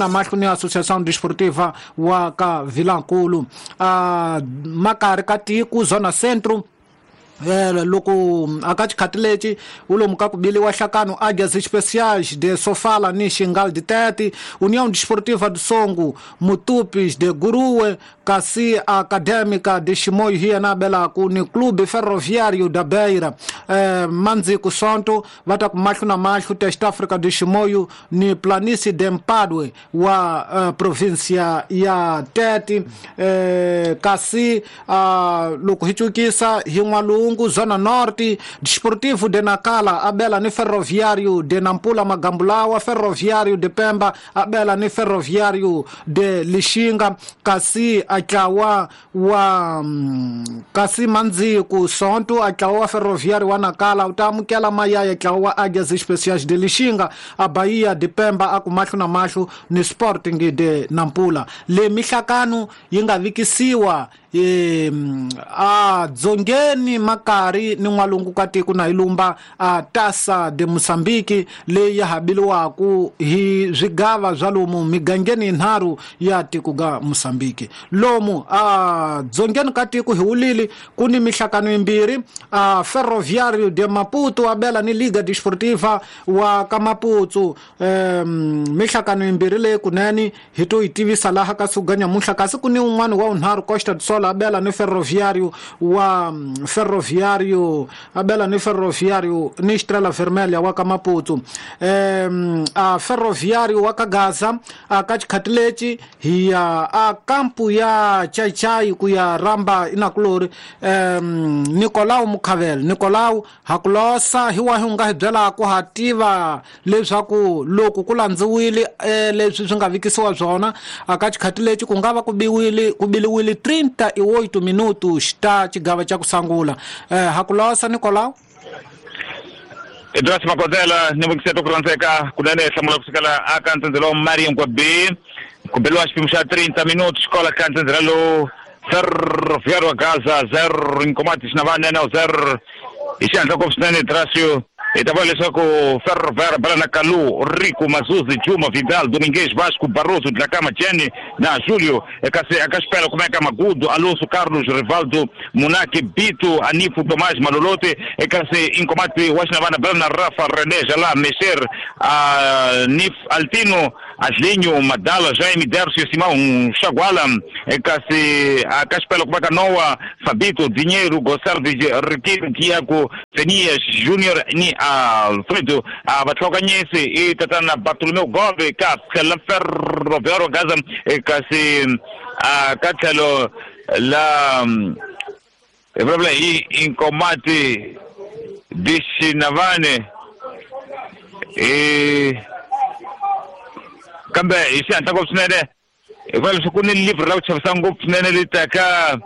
Na mahlo ni Associação Desportiva wa ka Vilankulu. A makari ka tiko Zona Centro, loko aka xikhati lexi wu lomu ka ku biliwa hlakano Águias Especiais de Sofala ni Xingal de Tete, União Desportiva do Songo, Mutupis de Guruwe, kasi Académica de Chimoio hi yena abelaku ni Clube Ferroviário da Beira. Mandziku Sonto va ta ku mahlo na mahlo Test Africa de Chimoio ni Planície de Mpadue wa província ya Tete. Kasi loko hi cukisa hi N'walungu Zona Norte, Desportivo de Nacala abela ni Ferroviário de Nampula Magambulawa, Ferroviário de Pemba abela ni Ferroviário de Lixinga, kasi atlawa wa kasi Mandziku Sonto atlawa wa Ferroviário wa Nacala u ta amukela mayaya atlawa wa Águias Especiais de Lixinga, a Bahia de Pemba a ku mahlo na mahlo ni Sporting de Nampula. Le mihlakano yi nga vikisiwa a dzongeni makari ni n'walungu ka tiko na ilumba a Taça de Moçambique leyi ya habiliwaku hi swigava swa lomu migangeni yinharhu ya tiko ga Moçambique. Lomu a dzongeni ka tiko hi wulili ku ni mihlakano yimbirhi, a Ferroviário de Maputo abela ni Liga Desportiva wa ka Maputo. Mihlakano yimbirhi leyi kunene hi to yi tivisa laha ka siku ga nyamuntlha, kasi ku ni un'wana wa wunharhu Costa do Sol abela ni Ferroviário wa Ferroviário abela ni Ferroviário ni Estrela Vermelha wa ka Maputo. A Ferroviário wa ka Gaza a ka xikhati lexi hi ya a kampu ya Chaichai ku ya ramba inakulori Nicolau Mukhavel. Nicolau hakulosa hi wahi u nga hi byelaka ha tiva leswaku loko ku landziwile leswi swi nga vikisiwa swona a ka xikhati lexi ku nga va ku biliwile 38 minutos ta xigava xa ku sungula. Hakulosa Nicolau. Edras Makozela ni vukiseta ku rhandzeka kunene hlamula kusukela aka ntsendzelo Marion kwa B ku beliwa xipimo xa 30 minutos xikola ka ntsendzelo lowu Ferroviário Gaza 0 Inkomati Xinavane na 0 hi xihatla ngopfu swinene Drasio hi ta vona leswaku Ferroviário bela na Kalu, Rico, Mazuzi, Juma, Vidal, Domingues, Vasco, Barroso, Dlakama, Jenny na Júlio. Kasi aka xipela kumeka Magudo, Alonso, Carlos, Rivaldo, Munaki, Bito, Anifo, Tomás, Malolote. Kasi Inkomati wa Xinavana bela na Rafa, René, Jalá, Mexer, Nif, Altino, Aslinho, Madala, Jaime, Dércio, Simão, Chaguala. Kasi aka xipela kumeka Noah, Fabito, Dinheiro, Gossardi, Riquelme, Tiago, Fenias, Júnior ni Alfredo a vatlhokanyisi i tatana Bartolomeu Gove ka tlhela Ferroviário Gaza kasi ka tlhelo la hi vulavula hi Inkomati de Xinavane kambe hi xihatla ngopfu swinene hi vula leswaku ku ni livre ra ku chavisa ngopfu swinene leri taka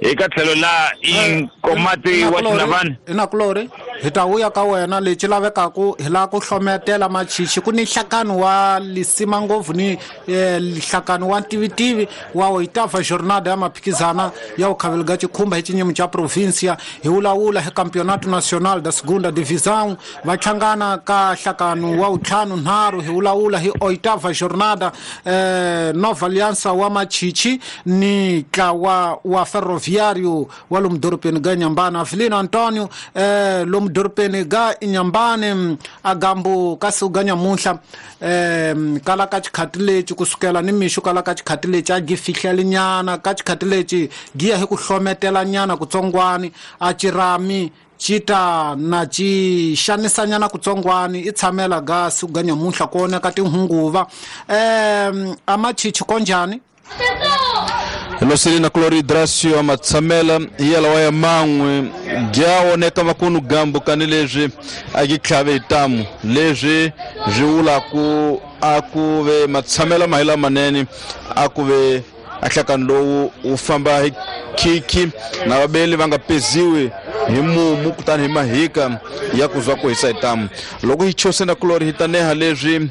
eka tlhelo la Inkomati wa Xinavane. Inakulori hi ta vuya ka wena lexi lavekaku hi lava ku hlometela machichi ku ni nhlakano wa lisima ngopfu ni nhlakano wa ntivitivi wa oitava jornada ya maphikizana ya ukhavelo ga xikhumba hi xinyimo xa provincia hi vulavula hi Campeonato Nacional da Segunda Divisão va hlangana ka nhlakano wa wuntlhanu nharhu hi vulavula hi oitava jornada Nova Aliança wa machichi ni ntlawa wa Ferroviário wa lomu dorobeni ga Inhambane. Avelino Antonio lomu dorobeni ga Inhambane a gambu ka siku ga nyamuntlha kala ka xikhati lexi kusukela ni mixo kala ka xikhati lexi a gi fihleli nyana ka xikhati lexi gi ya hi ku hlometela nyana kutsongwani a cirami xi ta na xi xanisanyana kutsongwani i tshamela ga siku ga nyamuntlha ku oneka tinhunguva a machichi konjhani. Loselina Cloridracio amatshamela hi yalawa ya man'we gya oneka vakunu gambu kani leswi a gi tlhave hi tamu leswi swi vulaku a ku ve matshamela ma hi lamanene a ku ve a nhlakano lowu wu famba hi khikhi na vabeli va nga peziwi hi mumu kutani hi mahika ya ku zwa ku hisa hi tamu. Loko hi chosena Clori hi ta neha leswi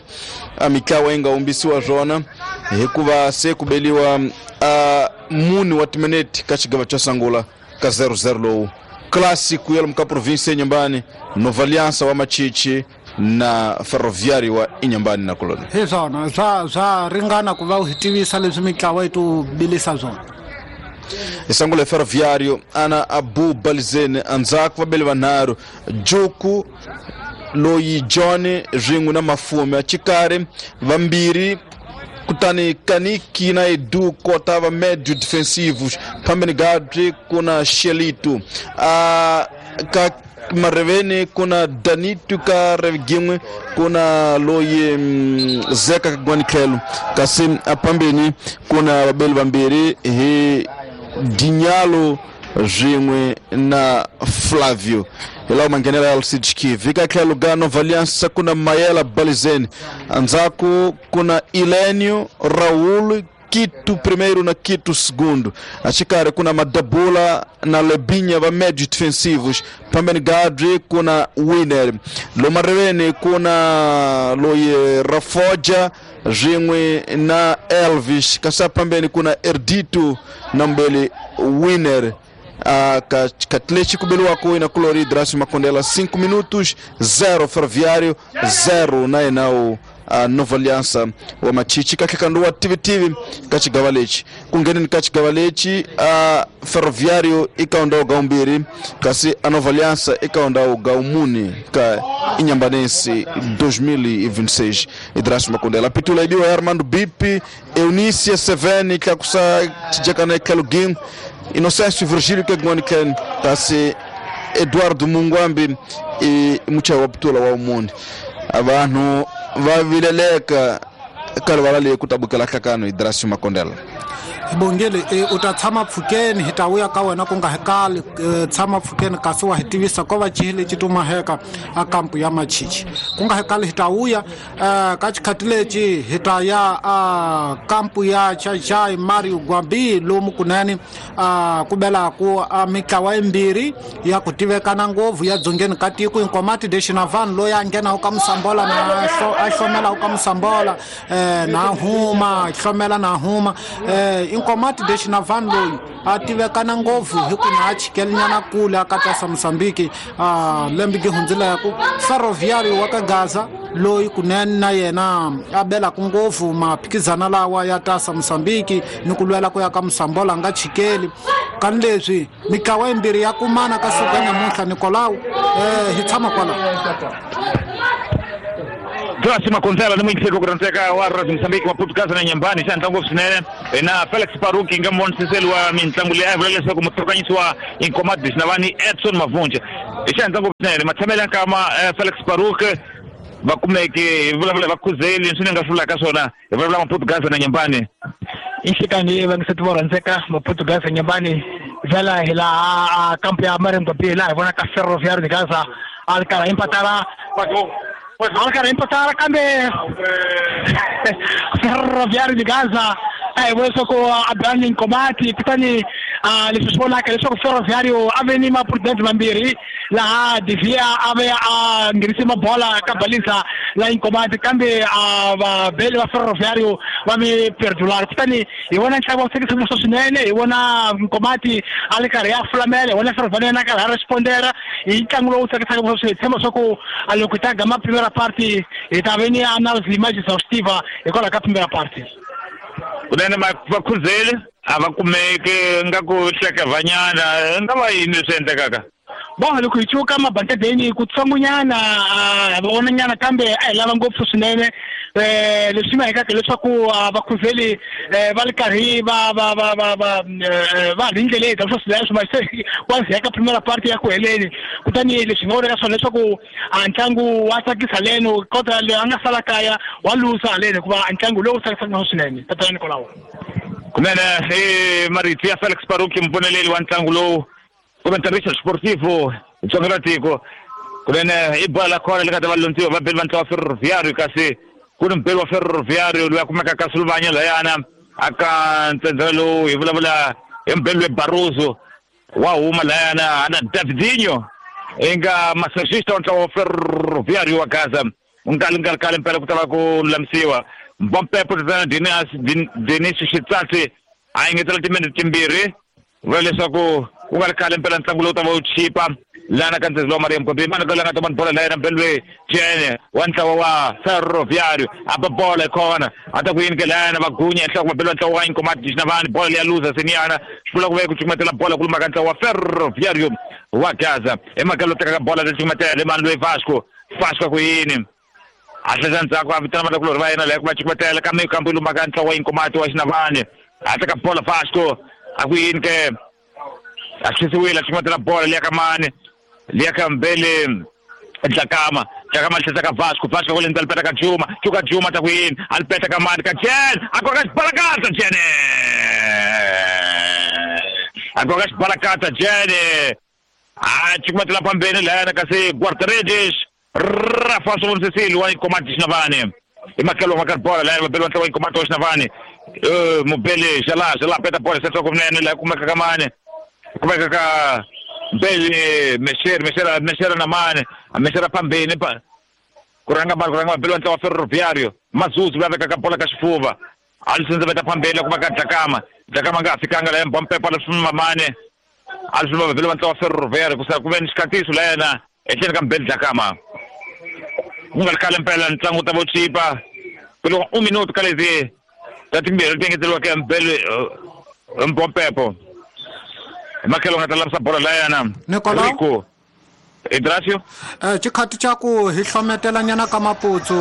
a mitlawa yi nga humbisiwa swona hikuva se ku beliwa a mune wa timinete ka xigava xa sungula ka 0-0 lowu Clássico ya lomu ka província ya Inhambane, Nova Aliança wa Machichi na Ferroviário wa Inhambane na Colônia. Hi swona swa ringana ku va u hi tivisa leswi mitlawa yi to bilisa swona. Isangule Ferroviário ana Abu Balizene andzhaku vabeli vanharhu Juku loyi John swin'we na Mafume axikarhi vambirhi kutani Kaniki na Edu kota va médio defensivos phambeni Gadri kuna Shelito ka mareveni kuna Danito ka Reginwe kuna loyi Zeka kagwani tlhelo kasi aphambeni kuna vabeli vambirhi hi Dinyalo swin'we na Flavio. Hi lawa manghenela ya Alcides Kivi. Ka tlhelo ga Nova Aliança kuna Mayela Balizene andzhaku kuna Ilenio Raul Quito primeiro na Quito segundo. Axikarhi kuna Madabula na Lebinha va médios defensivos. Phambeni Gadri kuna Winner. Lomareveni kuna loyi Rafoja swin'we na Elvis. Kasi phambeni kuna Erdito na mbele Winner. Katleti kubeliwako ina Colori Drácio Makondela 5 minutos 0 Ferroviário 0 na enao Nova Aliança wa Machichi kakekanduwa TV kachigava lechi kungeneni kachigava lechi Ferroviário ikaonda gaumbiri kasi a Nova Aliança ikaonda gaumuni ka Inhambanense 2026 Drácio Makondela pitula ibiwa Armando Bipi Eunice Seveni kakusa chijakana Kelugin Inocêncio Virgílio Kegmoni Ken kasi Eduardo Mungwambi e muchayi wa pitula wa umuni abantu vavileleka kalivala leyi ku tabukela hlakano hi Drácio Makondela. Bongele u ta tshama pfukeni hi ta vuya ka wena ku nga hi kali tshama pfukeni kasi wa hi tivisa ko va cihi lexi tumaheka a kampu ya Machichi ku nga hi kali hi ta vuya ka xikhati lexi hi ta ya a kampu ya Xaxai Mario Gwambi lomu kunene ku belaku a mitlawa yimbirhi ya ku tivekana ngopfu ya dzongeni ka tiko Inkomati de Xinavani loyi a nghenaku ka Musambola na a hlomelaku ka Musambola na huma hlomela na huma Inkomati de Xinavani loyi a tivekana ngopfu hi ku na a chikelinyana kule a katasa Mozambique lembe gi hundzileku Ferroviário wa ka Gaza loyi kunene na yena a belaku ngopfu maphikizana lawa ya tasa Mozambique ni ku lwela ku ya ka Musambola nga chikeli kani leswi mitlawa yimbirhi ya kumana ka siku ra namuntlha Nicolau hi tshama kwalaho. Drácio Makondela ni muyingiseri ku rhandzeka wa Radio Mozambique Maputo Gaza na Inhambane xa ntlangu swinene na Felix Paruki nga muvonisiseli wa mitlangu leyi a vula leswaku mutlhokanyisi wa Inkomati de Xinavani Edson Mavunja hi xa ntlangu swinene matshamelo ya nkama Felix Paruki va kumeke hi vulavula va khuzeli leswi ni nga swi vulaka swona hi vulavula Maputo Gaza na Inhambane. Inhlikani vangiseti vo rhandzeka Maputo Gaza Inhambane vela hi laha kampu ya Mario Gwambi laha hi vonaka Ferroviário de Gaza a ri karhi impatala a empatar kambe Ferroviário de Gaza a hi vona leswaku a bani Inkomati kutani leswi swi vonaka leswaku Ferroviário a ve ni maprudente mambirhi laha Devia a ve a nghenise mabola ka balisa la Inkomati kambe vabeli va Ferroviário va mi perdular kutani hi vona ntlangu wa tsakisa swinene hi vona Inkomati a ri karhi a fulamela hi vona Ferroviário na karhi a respondera hi ntlangu lowu tsakisaka swinene hi tshemba leswaku loko hi ta gama primera parte hi ta ve ni analyse mais exaustiva hikwalaho ka primera parte. Kunene vakhuzeli a va kumeke nga ku hlekevanyana nga va yini leswi endlekaka Bon loko hi cuka mabantadeni ku tsongonyana hi vonanyana kambe a hi lava ngopfu swinene leswi nga hekaka leswaku vakhuzeli va ri karhi va va va va va va ri ndleleni ta swo swileswo ma se wa heka primera parte ya ku heleni kutani leswi nga vonaka swona leswaku a ntlangu wa tsakisa leno kota leyi a nga sala kaya wa lusa haleni hikuva ntlangu lowu tsakisaka swinene tatana Nikolao. Kunene i marito ya Felix Paruki mpfumeleli wa ntlangu lowu comentarista sportivo tsonga ra tiko kunene i bola la khona le ka ta va lontsiwa va beli va ntlawa Ferroviário kasi ku ni mubeli wa Ferroviário loyi a kumeka ka Sulvanya layana aka ntsendzela lowu hi vulavula hi mubeli loyi Barroso wa huma layana ana Davidinho i nga massagista wa ntlawa wa Ferroviário wa Gaza nkali nkali kale mpela ku ta va ku lulamisiwa Mbompepo tatana Denis Xitsatsi a engetela timinete timbirhi vula leswaku ku nga ri khale mpela ntlangu lowu ta va wu chipa Lana ka ntsezi lowa Maria Mkwambi mani ka langa tomani bola la yena mbelwe Jene wa ntlawa wa Ferroviário a ba bola hi khona a ta ku yini ke lana va gunya enhloko mabelo ntlawa wa Inkomati Xinavani bola leya luza seniyana swi vula ku ve ku cukumetela bola ku lumaka ntlawa wa Ferroviário wa Gaza emakalo tekaka bola ri cukumetela mani loyi Vasco Vasco ku yini a tlhela ndzhaku a vitana vanakulorhi va yena laha ku va cukumetela kambe kambe lumaka ntlawa wa Inkomati wa Xinavani a teka bola Vasco a ku yini ke a xisiwile a cukumetela bola liya ka mani liya ka mbele Dlakama Dlakama tlhela ka Vasco Vasco ku lendza lipeta ka Juma Chuka Juma ta ku yini a lipeta ka mani ka Jen a koka xibalakata Jene a koka xibalakata Jene a cukumetela phambeni lahayana kasi Guarda-redes Rafa Sovon wa Inkomati Xinavani i makelo wa ka bola lahayana mabelo wa ntlawa wa Inkomati wa Xinavani mubele Jala Jala peta bola se kunene laha kumeka ka mani kumeka ka Mbele Mesher Mesher Mesher na mani Mesher phambeni pa ku rhanga mali ku rhanga mabelo wa ntlawa wa Ferroviário Mazuzu la vekaka bola ka xifuva a li sindza veta phambeni ku va ka Dlakama Dlakama nga ha fikanga laha Mbompepa leswi mamane a li swi mabelo wa ntlawa wa Ferroviário ku sa ku ve ni xikhatiso la yena etlhelo ka Mbele Dlakama ku nga ri khale mpela ntlangu ta vo chipa ku loko un minuto ka leti ta timbirhi leti engeteriweke Mbele Mbompepo makelo nga ta lavisa bola la yena Nicolau Idrasio xikhati xa ku hi hlometela nyana ka Maputsu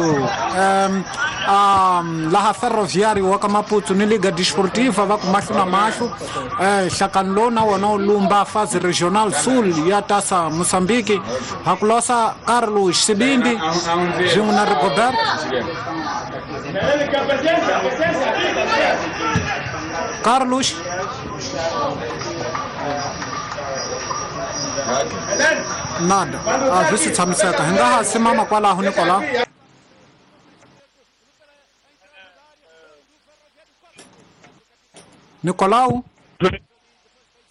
laha Ferroviário wa ka Maputsu ni Liga Desportiva va ku mahlo na mahlo nhlakano lowu na wona wu lumba Fase Regional Sul ya Taça Moçambique ha ku losa Carlos Sibindi swin'we na Rigobert Carlos nada a swi si tshamiseka hi nga ha simama kwalaho Nicolau Nicolau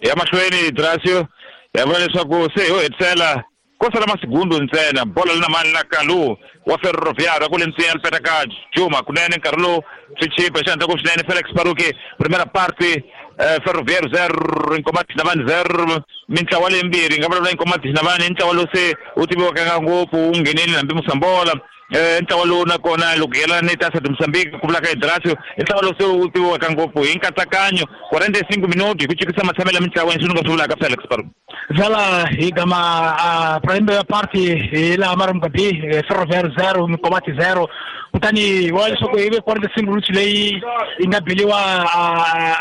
ya mahlweni Drasio ya vula leswaku se ho hetisela ko sala masigundu ntsena bola li na mani na Kalu wa Ferroviário ku le ntsena lipeta ka Juma kunene nkarhi lowu swi chipa xi handle ku swinene Felix Baruki primera parte Ferroviário 0 Inkomati Xinavani 0 mintlawa leyimbirhi nga vulavula Inkomati Xinavani ntlawa lowu se wu tiviwaka ngopfu wu nghenile hambi Musambola ntlawa lowu nakona loko yelana ni Taça de Moçambique ku vulaka Idrasio i ntlawa lowu se wu tiviwaka ngopfu hi nkatsakanyo 45 minuti hi ku chikisa matshamelo ya mintlawa leswi ni nga swi vulaka Felix Baruki Vela hi gama primeira parte hi laha Maramgabi Ferroviário 0 Inkomati 0 kutani wa leswaku hi ve 45 minuti leyi yi nga biliwa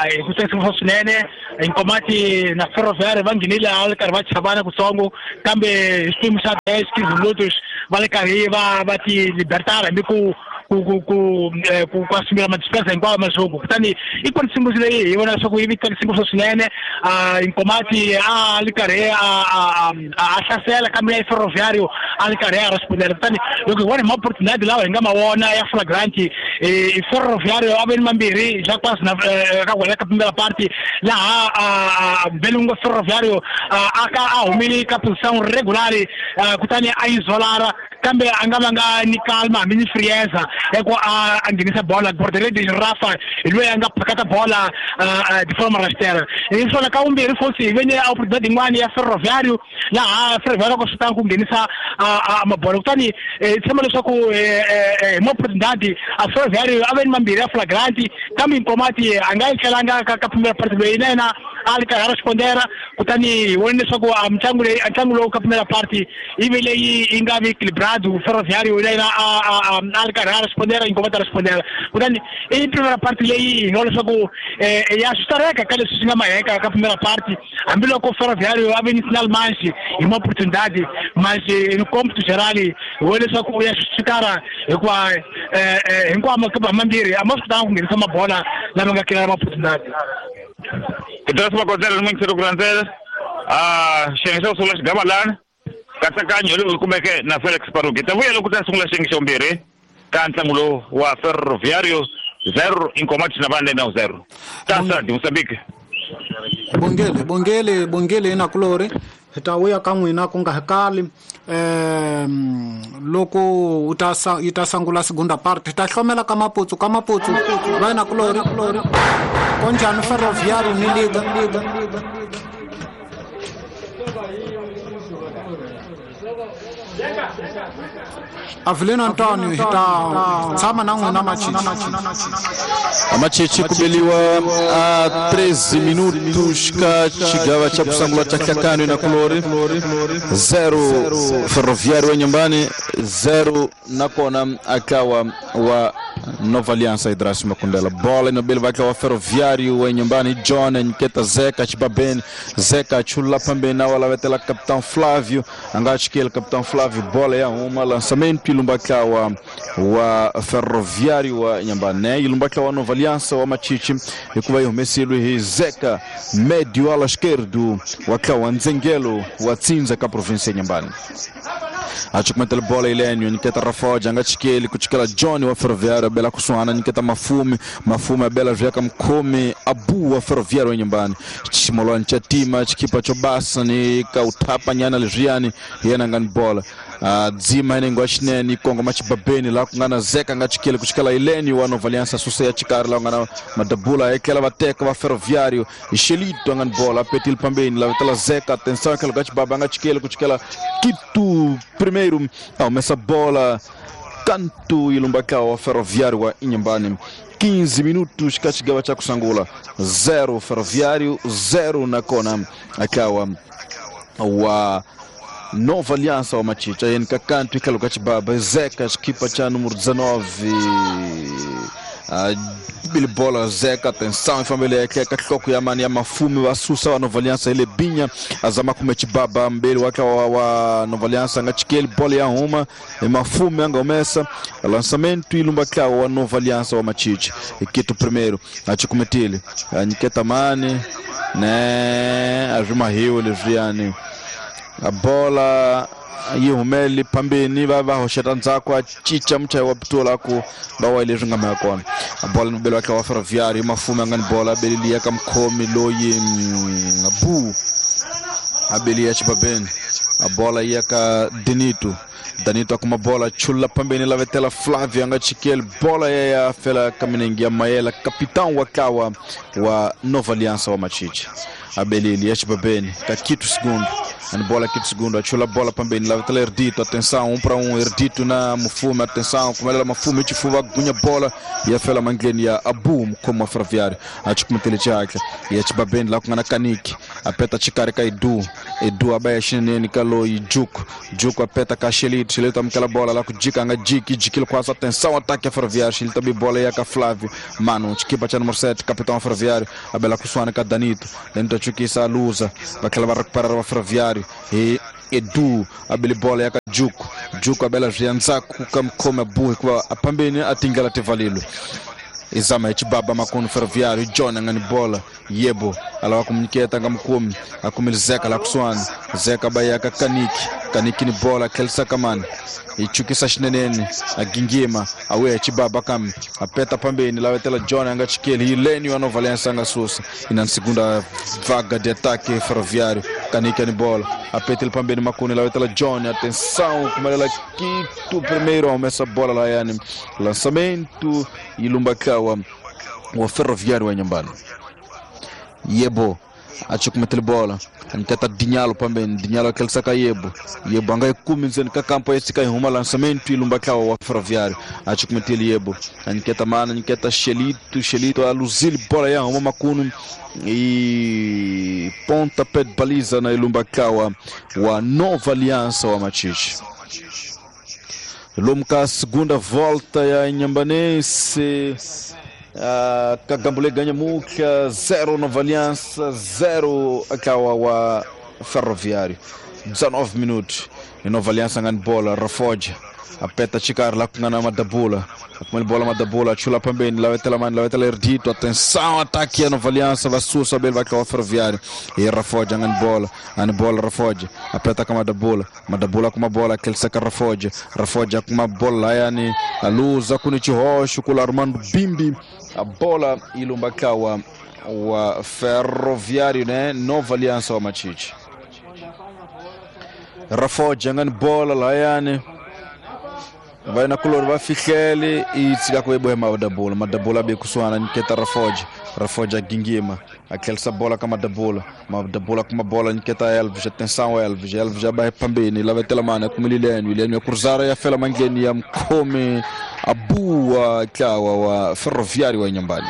hi ku tsakisa swinene Inkomati na Ferroviário va nghenile a li karhi va chavana kutsongo kambe hi xiphemu xa 10 15 minutos va le karhi va ti libertara hambi ku ku asumira madespesa hinkwawo mazungu kutani i 45 minuti leyi hi vona leswaku yi vi tsakisa ngopfu swinene Inkomati a li karhi a hlasela kambe ya Ferroviário a li karhi a respondela kutani loko hi vona hi maoportunidade lawa hi nga ma vona ya flagrante Ferroviário a ve ni mambirhi Jacques na ka wena ka primera parte laha Belungo Ferroviário a ka a humile ka position regular kutani a isolara kambe a nga vanga ni calma hambi ni frieza ya ku a nghenisa bola Guarda-redes Rafa hi loyi a nga phakata bola de forma rasteira hi swona ka vumbirhi futhi hi ve ni oportunidade yin'wana ya Ferroviário laha Ferroviário ku swi ku nghenisa mabola kutani hi tshemba leswaku hi maoportunidade a Ferroviário a ve ni mambirhi ya flagrante kambe Inkomati a nga yi tlhelanga ka primera parte loyi na yena a li karhi a respondera kutani hi vone leswaku a ntlangu leyi ntlangu lowu ka primera parte yi ve leyi yi nga vi equilibrado Ferroviário na yena a li karhi a respondera Inkomati a respondera kutani i primera parte leyi hi nga leswaku ya swi ka leswi swi nga maheka ka primera parte hambiloko Ferroviário a ve ni sinal manxi hi maoportunidade mas no cômputo geral hi vone leswaku ya swisikara hikuva hinkwawo makipa mambirhi a ma swi kotanga ku nghenisa mabola lama nga kela maoportunidade Idrasio Makondzela ni n'wingiseri ku landzela xiyenge xa ku sungula xigava lana nkatsakanyo lowu kumeke na Felix Baruki ta vuya loko ta sungula xiyenge xa vumbirhi ka ntlangu lowu wa Ferroviário 0 Inkomati Xinavani na 0 Taça de Moçambique Bongele bongele bongele inakulori hi ta vuya ka n'wina ku nga hi kali loko u ta yi ta sungula segunda parte hi ta hlomela ka Maputsu va inakulori konjani Ferroviário ni Liga Avelino Antonio hi ta tshama na n'wina Machichi. Amachichi kubeliwa a 13 minutos ka xigava xa kusangula cha hlakano na kulori 0 Ferroviário wa nyumbani 0 nakona akawa wa Nova Aliança Idrasio Makundela. Bola inobeli vakawa Ferroviário wa nyumbani John Nketa Zeka Chibaben Zeka chula pambeni na wala vetela Capitão Flávio angachikele Capitão Flávio bola ya uma lançamento ilumbakawa wa Ferroviário wa Inhambane ilumbakawa Nova Aliança wa Machichi ikuva ihumesilo hi Zeka médio ala esquerdo wakawa Nzengelo wa Tsinza ka província ya Inhambane. Achukumetela bola Ilênio Niketa Rafoja angachikele kuchikela John wa Ferroviário bela kusuana Niketa Mafume Mafume bela vyaka mkome Abu wa Ferroviário wa nyumbani chimolwa cha tima chikipa chobasa ni kautapa nyana lezviani yena ngani bola dzima ine ngwachinene kongo machibabeni la kungana Zeka ngachikele kuchikela Ilênio wa Nova Aliança susa ya chikari la kungana madabula ekela vateka va Ferroviário Xelito ngani bola petil pambeni la vetela Zeka atenção aquela gachibaba ngachikele kuchikela Quito primeiro essa bola canto ilumbakao wa Ferroviário wa Inhambane. 15 minutos kachigava cha kusangula 0 Ferroviário 0 na kona akawa wa Nova Aliança wa Machicha yeni kakanto ikalo kachibaba Zeka chikipa cha número 19 Bili bola Zeka atenção ifambele yake katloko ya mani ya Mafume wa Susa wa Nova Aliança ile binya azama kumechibaba mbele wake wa Nova Aliança ngachikeli bola ya uma e Mafume angomesa lançamento ilumba kwa wa Nova Aliança wa Machichi Quito primeiro achikumetile Niketa mani né azuma rio leviani a bola yihumeli pambeni va va hoxeta ndzhaku a cinca muchayi wa pitola ku va wa leswi nga mhaka kona. A bola ni belo wa Ferroviário Mafume a nga ni bola abelilia ka mukhomi loyi Bu abelia Chibabeni a bola ya ka Danito Danito akuma bola chula pambeni la vetela Flávio anga chikele bola ya fela kaminengi ya Maela capitão wa kawa wa Nova Aliança wa Machichi abelili ya Chibabeni ka Quito segundo ani bola Quito segundo achula bola pambeni la vetela Erdito atenção 1 para 1 Erdito na Mufume atenção kumelela Mafume chifuva gunya bola ya fela mangleni ya Abu mkomo wa Ferroviário achikumetele chake ya Chibabeni la kungana Kaniki apeta chikari ka Edu Edu abaya shinene kaloi Juku Juku apeta ka Xelito Xelito amkela bola la kujika anga jiki jikilo quase atenção ataque a Ferroviário Xelito abi bola ya ka Flávio Mano chikipa cha número 7 capitão Ferroviário abela kusuana ka Danito Danito achukisa a luza bakela ba recuperar o Ferroviário e Edu abeli bola ya ka Juku Juku abela zvianzaku kamkome buhi kwa apambeni atingela tevalilo izama chibaba makono Ferroviário John angani bola yebo alawa kumniketa ngamkumi akumili Zeka la kuswana Zeka bayaka Kaniki Kaniki ni bola kelsa kamani ichukisa shinenene agingima awe chibaba kam apeta pambeni lawetela John angachikeli Ilênio wa Nova Aliança angasusa ina segunda vaga de ataque Ferroviário Kaniki ni bola apeta pambeni makuni lawetela John atenção kumalela Quito primeiro essa bola lá yani lançamento ilumbakawa wa Ferroviário wa Inhambane Yebo achukumetele bola anikata Dinhalo pambeni Dinhalo aquele saca Yebo Yebo anga ikumi nzeni ka campo esse huma lançamento ilumbakawa wa Ferroviário achukumetele Yebo aniketa mana aniketa Xelito Xelito aluzile bola ya huma makunu e pontapé de baliza na ilumbakawa wa Nova Aliança wa Machichi. Lomka segunda volta ya Inhambanense Kagambule ganha muka 0 Nova Aliança 0 akawa wa Ferroviário 19 minutos e Nova Aliança ngani bola Rafoja apeta chikari la kungana madabula akumele bola madabula chula pambeni lawetela mani lawetela Erdito atenção ataque ya Nova Aliança vasusa bel vakawa Ferroviário e Rafoja ngani bola ani bola Rafoja apeta kama madabula madabula kuma bola kelsa Rafoja Rafoja kuma bola yani aluza kuni chihosho kula Armando Bimbi a bola ilumbakawa wa Ferroviário né Nova Aliança wa Machichi Rafoja ngani bola la yani Va kulori va fihlele i tshika ku ebohe Madabula. Madabula be kusuhana nyiketa Rafoja. Rafoja gingima a tlherisa bola ka Madabula. Madabula kuma bola nyiketa Elvis. Atenção Elvis. Elvis ya ba phambeni lavetela mana kumilileni William ya cruzara ya fela mandleni ya mkhome Abu tlawa wa Ferroviário wa Inhambane.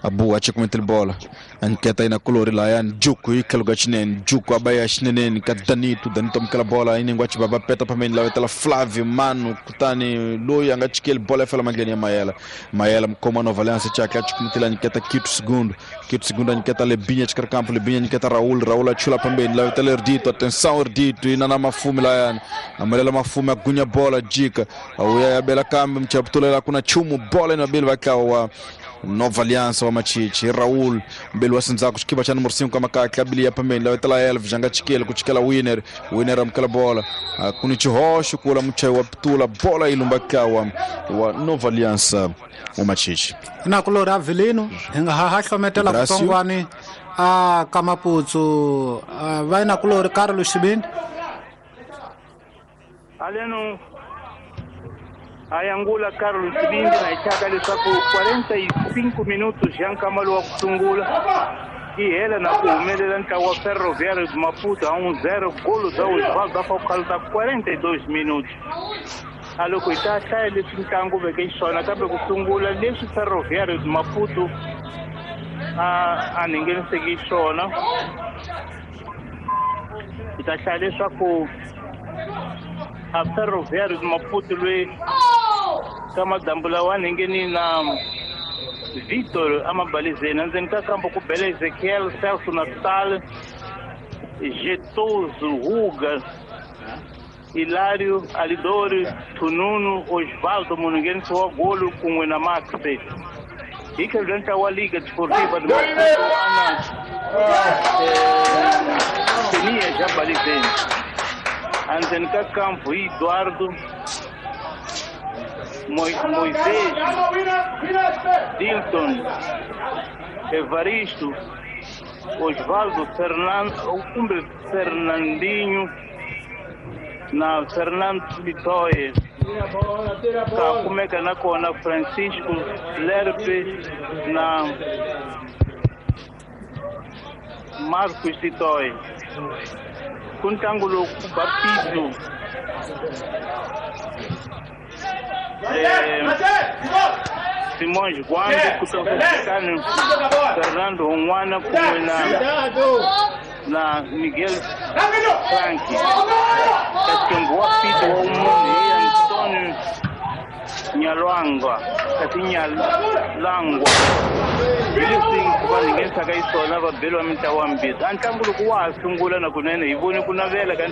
Abu achikumintile bola anketa ina kulori la yani Juku ikaluga chinene Juku abaya chinene ka Danito. Danito amukela bola inengwa chibaba peta pameni lavetela Flávio Mano kutani loyi anga chikeli bola fela mandleni ya Mayela. Mayela mkoma Nova Aliança chake achikumintile anketa Quito Segundo. Quito Segundo anketa Lebinha chikar campo. Lebinha anketa Raul. Raul achula pambeni lavetela Erdito. Atenção Erdito ina na Mafume la yani amalela Mafume agunya bola jika auya ya bela kambe mchaptulela kuna chumu bola inabili vakawa Nova Aliança wa Machichi. Raul mbele wa sinzaku xikiba xa numero 5 kama kabili ya pambeni lavetela Elvis anga chikele ku chikela Winner. Winner amukela bola kuni chihoxo kula muchayi wa pitula bola ilumba kawa wa Nova Aliança wa Machichi. Na kulori Avelino hi nga ha hlometela kutsongwani a ka Maputsu va na kulori Carlos Xibindi aleno ayangula Carlos Xibindi na ichaka leswaku 45 minutos ya nkamalo wa ku sungula i hela na ku humelela ntlawa wa Ferroviário de Maputo a 1-0 golo za Osvaldo Afocalo ta 42 minutos. A loko hi ta hlaya leswi ntlangu veke xiswona kambe ku sungula leswi Ferroviário de Maputo a ngheniseki xiswona hi ta hlaya leswaku a Ferroviário de Maputo loyi ka madambu lawa ngheni na Vitor amabalizeni endzeni ka kambo ku bela Ezequiel, Celso Natal, Getoso, Ruga, Hilário, Alidori, Tununu, Osvaldo munhu wa golo kun'we na Max. Hi tlhelo ntlawa wa Liga Desportiva de Maputo ana Tenia já balizeni endzeni ka kampo hi Eduardo, Moisés, Dilton, Evaristo, Osvaldo, Fernando, kumbe Fernandinho na Fernando Litoye. Ka kumeka na kona Francisco Lerpe na Marcos Litoye. Ku ntlangu lowu ku ba Pito Simões Guambe kutoka Fernando un'wana kun'we na Miguel Frank. Kasi wa Pito wa munhu hi Antonio Nyalwangwa kasi Nyalangwa hi leswi va nghenisaka xiswona va beriwa mintlawa mbirhi. A ntlangu loko wa ha sungula na kunene hi vone ku navela ka